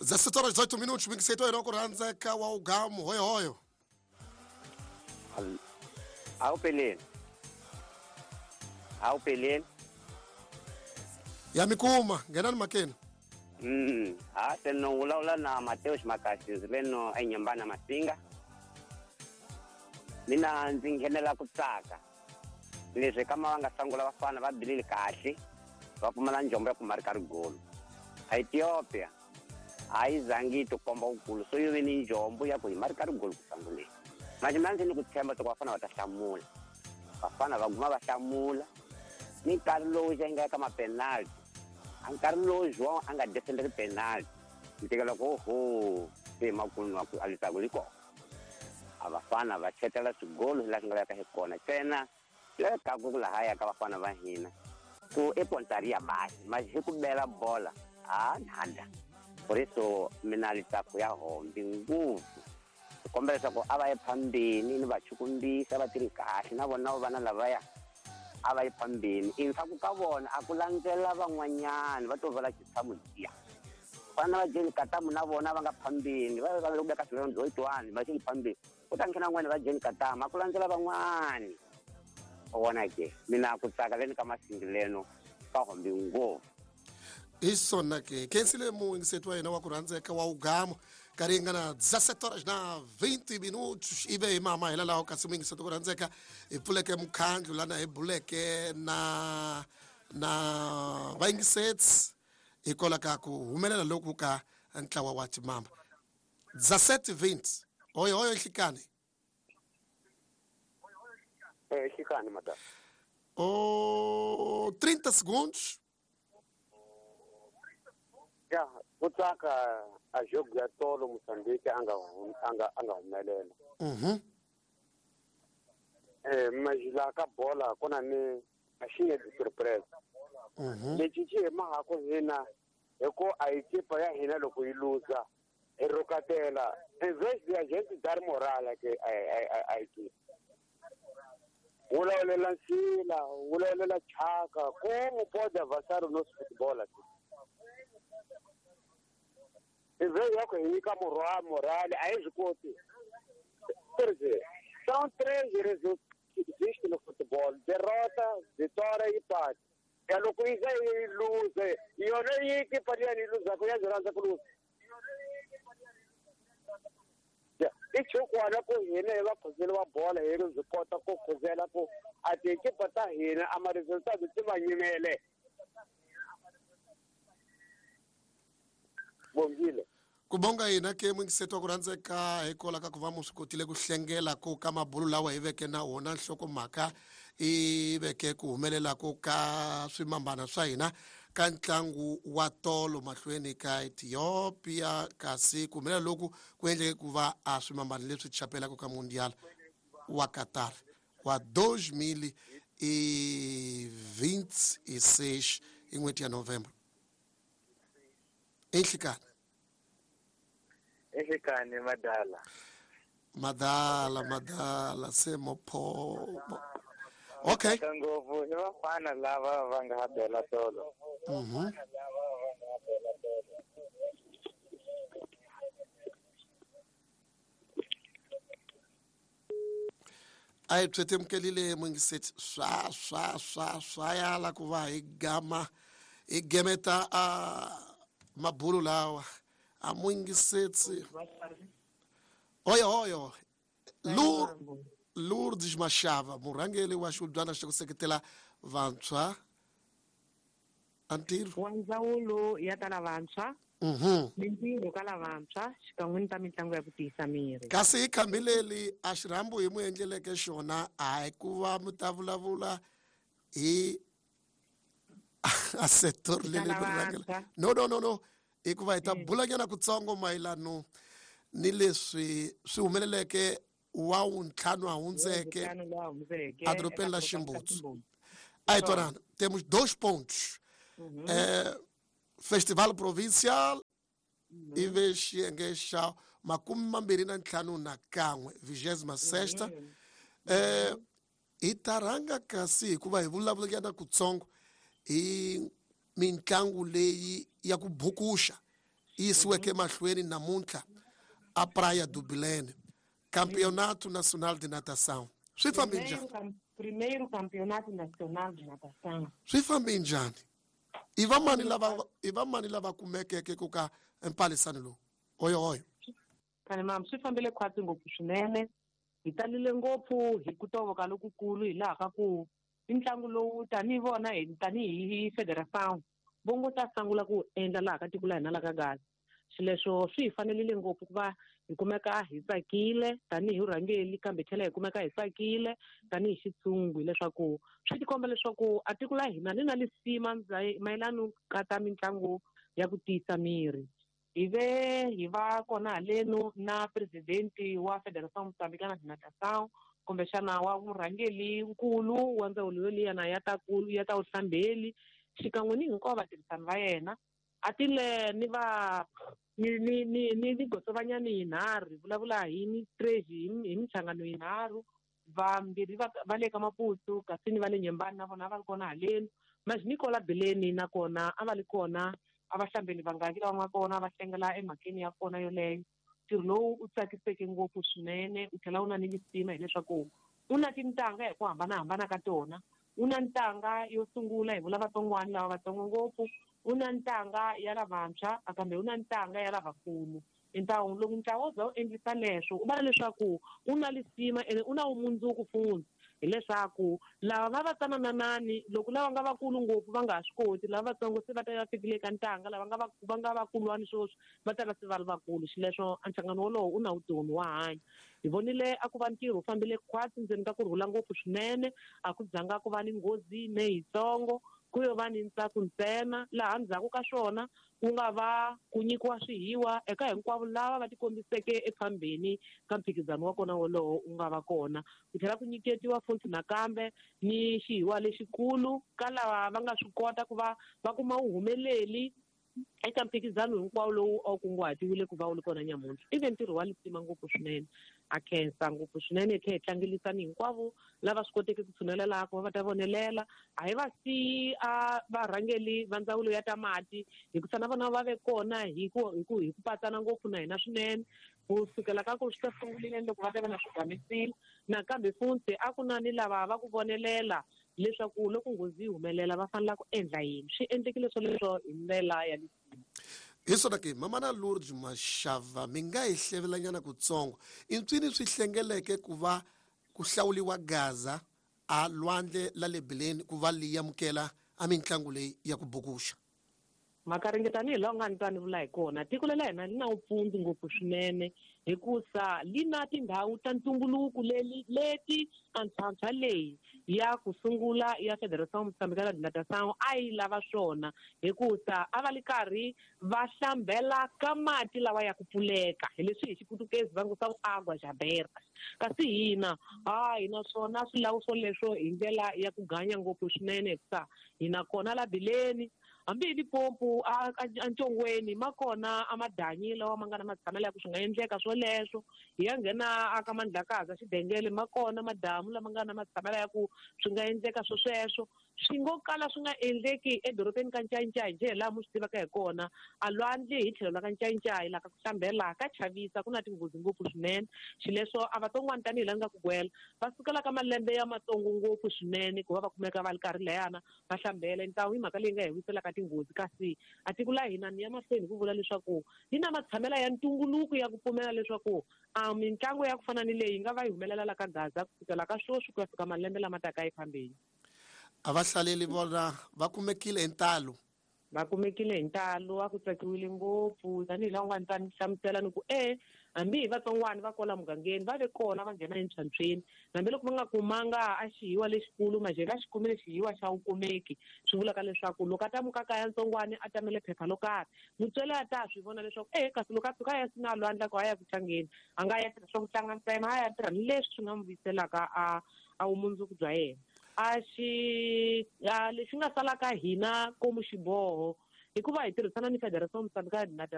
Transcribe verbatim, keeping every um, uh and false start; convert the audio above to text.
dezessete horas dezoito minutos, mingiseto yena ku rhandzeka wa ugamu hoyo hoyo. Awu peleni. Awu peleni. Ya mikuma, ngenani makeni. Mm, ha teno vulavula na Mateus Makasi leno enyambana Masinga. Mina ndzi nghenela ku tsaka. Leswi kama va nga sangula vafana va bilile kahle, va pfumala njombo ya ku marika rigolo. Ethiopia a yi zangi yi tikomba wukulu, so yi ve ni njombo ya ku hi marika rigolo ku sanguleni. Manje mina ndzi ni ku tshemba ku vafana va ta hlamula. Vafana va guma va hlamula. Ni nkarhi lowu xi nga eka ma-penalty, a nkarhi lowu João a nga defenderi penalty, ni tekela ku oho, se makumu ku a litaku li kona. A vafana va chetela swigolo laha swi nga laveka hi kona ntsena lekaku ku lahaya ka vafana va hina ku i pontaria basi mas hi ku bela bola a nada. Por isso mina litaku ya hombi ngopfu. Ku kombela leswaku a va ye phambeni ni va chukumbisa va tirhi kahle na vona vana lavaya a va ye phambeni. Endzhaku ka vona a ku landzela van'wanyana va to vala xitshamo liya. Vana va Jane Katamu na vona va nga phambeni va va le ku veka swilo one va xi phambeni. Ku ta nghena van'wani va Jane Katamu a ku landzela van'wani. U vona ke mina ku tsaka leni ka Masingileno ka hombi ngopfu. Hi swona ke khensile muyingiseti wa hina wa ku rhandzeka wa ugamu nkarhi yi nga na dezessete horas na vinte minutos ive hi mama hela laha kasi muyingiseti ku rhandzeka hi pfuleke mukhandlu lana hi buleke na na vayingiseti hikwalaho ka ku humelela loku ka ntlawa wa timamba. Dezessete vinte. Hoyo hoyo nhlikani. Eh, nhlikani madam. Oh, trinta segundos. Ya, ku tsaka a jogo ya tolo Mozambique a nga a nga a nga humelela. Mhm. Eh, mas la ka bola ku na ni a xi nge surprise. Mhm. Lexi xi hi mahako hina hi ku a hi ekipa ya hina loko yi luza hi rhukatela em vez de a gente dar moral ke a a a equipe. Vulavulela nsila, vulavulela chaka, como pode avançar o nosso futebol aqui? Em vez de hi nyika moral, a hi swi koti. Quer dizer, são três resultados que existem no futebol: derrota, vitória e empate. É loko yi za yi luze, yona yi ekipa liya yi luzaka ya byi rhandza ku luza. I chukwana ku hina hi vakhuzeli va bola hi ri byi kota ku khuzela ku a tiekipa ta hina a ma-resultado ti va nyimele. Bongile. Ku bonga hina ke muyingiseti wa ku rhandzeka hikwalaho ka ku va mu swi kotile ku hlengela ku ka mabulu lawa hi veke na wona nhlokomhaka i veke ku humelela ku ka swimambana swa hina ka ntlangu wa tolo mahlweni ka Ethiopia kasi ku humelela loku ku endleke ku va a swimambana leswi chapelaka ka Mundial wa Qatar wa dois mil e vinte e seis hi n'hweti ya November. Enhlikani. Enhlikani madala. Madala madala se mopho. Okay. Ngopfu i vafana lava va nga bela tolo. Mhm. A hi byetemukelile muyingiseti swa swa swa swa yala ku va hi gama hi gemeta a mabulu lawa a muyingiseti. Hoyo hoyo. Lur Lourdes Machava, murhangeri wa xihubyana xa ku seketela vantshwa a ntirho wa ndzawulo ya ta lavantshwa, mhm, mintirho ka lavantshwa xikan'we ni ta mitlangu ya ku tiyisa miri. Kasi hi khambi leri a xirhambo hi mu endleleke xona a hi ku va mi ta vulavula hi a sector leri mi rhangela. No no no no, hikuva hi ta bulanyana kutsongo mayelano ni leswi swi humeleleke wa wuntlhanu a hundzeke edorobeni la Ximbutsu. A hi twanana, temos dois pontos. Uhum. Eh, Festival Provincial Uhum. ive xiyenge xa makume mambirhi na ntlhanu na kan'we vigésima sexta. Uhum. Eh, hi ta rhanga kasi hikuva hi vulavulanyana kutsongo hi mitlangu leyi ya ku bukuxa yi yisiweke emahlweni namuntlha a Praia do Bilene, Campeonato Nacional de Natação. Swi fambe njhani? Primeiro Campeonato Nacional de Natação. Swi fambe njhani? I va mani lava i va mani lava kumekeke ku ka empalisano lowu? Oyo oyo. Khale mam, swi fambile khwatsi ngopfu swinene. Hi talile ngopfu hi ku tovoka lokukulu hi laha ka ku i ntlangu lowu tanihi vona hi tanihi Federação vo ngo ta sungula ku endla laha ka tiko la hina la ka Gaza. Xileswo swi hi fanerile ngopfu ku va hi kumeka hi tsakile tanihi vurhangeri, kambe tlhela hi kumeka hi tsakile tanihi xitshungu, hileswaku swi tikomba leswaku a tiko la hina ni na lisima mayelana ka ta mitlangu ya ku tiyisa miri. Hi ve hi va kona haleno na presidenti wa Federação Moçambicana de Natação, kumbexana wa murhangeri nkulu wa ndzawulo yoliyana ya ta ku ya ta vuhlambeli, xikan'we ni hinkwavo vatirhisani va yena. A tile ni va ni ni ni ni ni gotsovanyani yinharhu, hi vulavula hi mitreji hi minhlangano yinharhu, vambirhi va va le ka Maputo kasi ni va le Nyembani na vona a va ri kona haleni. Mas Nicola Bileni nakona a va ri kona, a va hlambeli vangaki lava nga kona va hlengela emhakeni ya kona yoleyo. Ntirho lowu u tsakiseke ngopfu swinene, u tlhela u na ni lisima hileswaku u na tintanga hi ku hambanahambana ka tona. U na ntanga yo sungula hi vula vatsongwana lava vatsongo ngopfu, u na ntanga ya lavantshwa kambe u na ntanga ya lavakulu. Ntlangu loko ntlawa wo za wu endlisa leswo u vona leswaku u na lisima ene u na vumundzuku futhi, hileswaku lava va va tsanananani loko lava nga vakulu ngopfu va nga ha swi koti, lava vatsongo se va ta va fikile eka ntanga, lava nga va va nga vakulwani sweswi va ta va se va ri vakulu. Xileswo a nhlangano wolowo u na vutomi wa hanya. Hi vonile a ku va ntirho wu fambile khwatsi ndzeni ka kurhula ngopfu swinene, a ku zanga ku va ni nghozi ne yitsongo, ku yo va ni ntsako ntsena. Laha ndzhaku ka swona ku nga va ku nyikiwa swihiwa eka hinkwavo lava va tikombiseke efambeni ka mphikizano wa kona wolowo wu nga va kona. Ku tlhela ku nyiketiwa futhi nakambe ni xihiwa lexikulu ka lava va nga swi kota ku va va kuma vuhumeleli eka mphikizano hinkwawo lowu a wu kunguhatiwile ku va wu ri kona nyamuntlha. I ve ntirho wa lisima ngopfu swinene, a khensa ngopfu swinene, hi tlhela hi tlangelisani hinkwavo lava swi koteke ku tshunelela laha ku va va ta vonelela. A hi va siyi a varhangeri va ndzawulo ya ta mati, hikusa na vona va ve kona hi ku hi ku hi ku patsana ngopfu na hina swinene ku sukela ka ku swi ta sungulile loko va ta va na swigamisile. Nakambe futhi a ku na ni lava va ku vonelela leswaku loko nghozi yi humelela va fanele ku endla yini. Swi endlekile swoleswo hi ndlela ya lisima. Hi swona ke Mamana Lourdes Mashava, mi nga hi hlevelanyana kutsongo i ntswini swi hlengeleke ku va ku hlawuliwa Gaza a lwandle la le Bileni ku va li amukela a mitlangu leyi ya ku bukuxa? Makaringe tanihi laha u nga ni twa ni vula hi kona, tiko lela hina li na vupfundzi ngopfu swinene, hikusa li na tindhawu ta ntumbuluko leli leti antshwantshwa leyi ya ku sungula ya Federação Moçambicana de Natação a yi lava swona, hikusa a va li karhi va hlambela ka mati lawa ya ku pfuleka, hi leswi hi xiputukezi va ngo swa agua aberta. Kasi hina ha hina swona swilawu swoleswo hi ndlela ya ku ganya ngopfu swinene, hikusa hina kona la Bileni hambi hi Limpopo a a Ntshongweni ma kona a madanyi lawa ma nga na matshamelo ya ku swi nga endleka swoleswo. Hi ya nghena a ka Mandlakazi Xidengele ma kona madamu lama nga na matshamelo ya ku swi nga endleka swo sweswo. Swi ngo kala swi nga endleki edorobeni ka Ncayincayi njhe laha mu swi tivaka hi kona, a lwandle hi tlhelo la ka Ncayincayi laha ka ku hlambela ka chavisa, ku na tinghozi ngopfu swinene. Xileswo a vatsongwana tanihi laha ni nga ku gwela va sukela ka malembe ya matsongo ngopfu swinene ku va va kumeka va ri karhi layana va hlambela. Ntawu i mhaka leyi nga hi wiselaka tinghozi, kasi a tiko la hina ni ya mahlweni hi ku vula leswaku yi na matshamelo ya ntumbuluko ya ku pfumela leswaku a mitlangu ya ku fana ni leyi yi nga va yi humelela la ka Gaza kusukela ka sweswi ku ya fika malembe lama taka efambeni. A va hlaleli vona va kumekile hi ntalo? Va kumekile hi ntalo, a ku tsakiwile ngopfu tanihi laha u nga ni ta ni hlamusela ni ku e hambi hi vatsongwana va kwala mugangeni va ve kona va nghena entlhantlhweni, hambiloko va nga kumanga a xihiwa lexikulu majhe va xi kumile xihiwa xa wukumeki. Swi vulaka leswaku loko a ta muka kaya ntsongwana a tamele phepha lo karhi, mutswari a ta swi vona leswaku e kasi loko a fika a ya sina lwandle ku a ya ku tlangeni, a nga ya tirha swa ku tlanga ntsena, a ya tirha ni leswi swi nga n'wi vuyiselaka a a vumundzuku bya yena. A xi a lexi nga salaka hina komu xiboho hikuva hi tirhisana ni Federação Moçambicana de Natação.